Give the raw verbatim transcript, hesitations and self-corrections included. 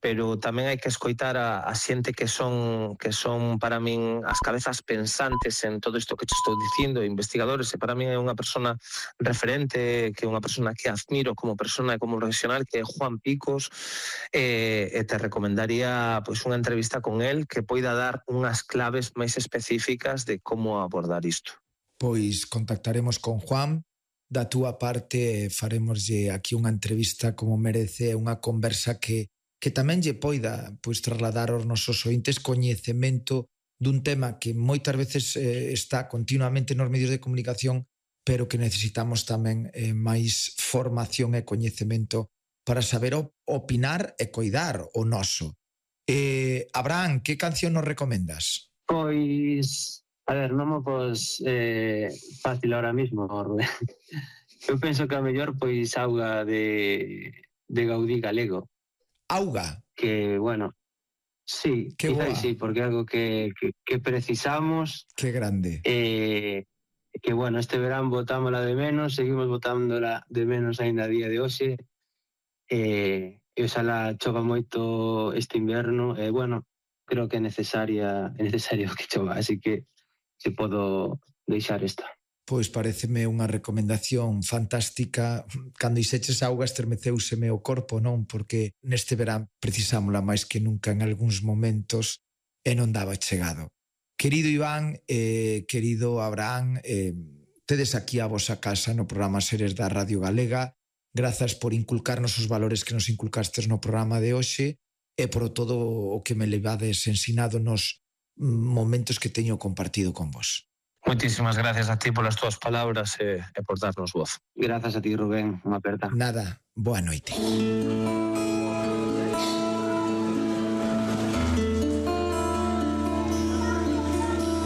pero tamén hai que escoitar a, a xente que son que son para min as cabezas pensantes en todo isto que te estou dicindo, investigadores, e para min é unha persona referente, que é unha persona que admiro como persona e como profesional, que é Juan Picos, e, e te recomendaría pois unha entrevista con el que poida dar unhas claves máis específicas de como abordar isto. Pois contactaremos con Juan. Da túa parte faremoslle aquí unha entrevista como merece, unha conversa que, que tamén lle poida pois, trasladar aos nosos ointes coñecemento dun tema que moitas veces eh, está continuamente nos medios de comunicación, pero que necesitamos tamén eh, máis formación e coñecemento para saber opinar e coidar o noso. Eh, Abraham, que canción nos recomendas? Pois... A ver, non mo pos eh, fácil ahora mismo, Rubén. Eu penso que a mellor pois Auga de, de Gaudí Galego. Auga? Que, bueno, sí, que quizás sí, porque é algo que, que, que precisamos. Que grande. Eh, que, bueno, este verán botámola de menos, seguimos botándola de menos ainda a día de hoxe. Eh, e oxalá chova moito este inverno. E, eh, bueno, creo que é necesaria, é necesario que chova, así que se podo deixar esta. Pois pareceme unha recomendación fantástica. Cando ixeches auga estremeceuseme o corpo, non? Porque neste verán precisámola máis que nunca en algúns momentos e non daba chegado. Querido Iván, eh, querido Abraham, eh, tedes aquí a vosa casa no programa Seres da Radio Galega. Grazas por inculcarnos os valores que nos inculcastes no programa de hoxe e por todo o que me levades ensinado nos momentos que teño compartido con vos. Moitísimas gracias a ti polas túas palabras e, e por darnos voz. Grazas a ti, Rubén, unha aperta. Nada, boa noite.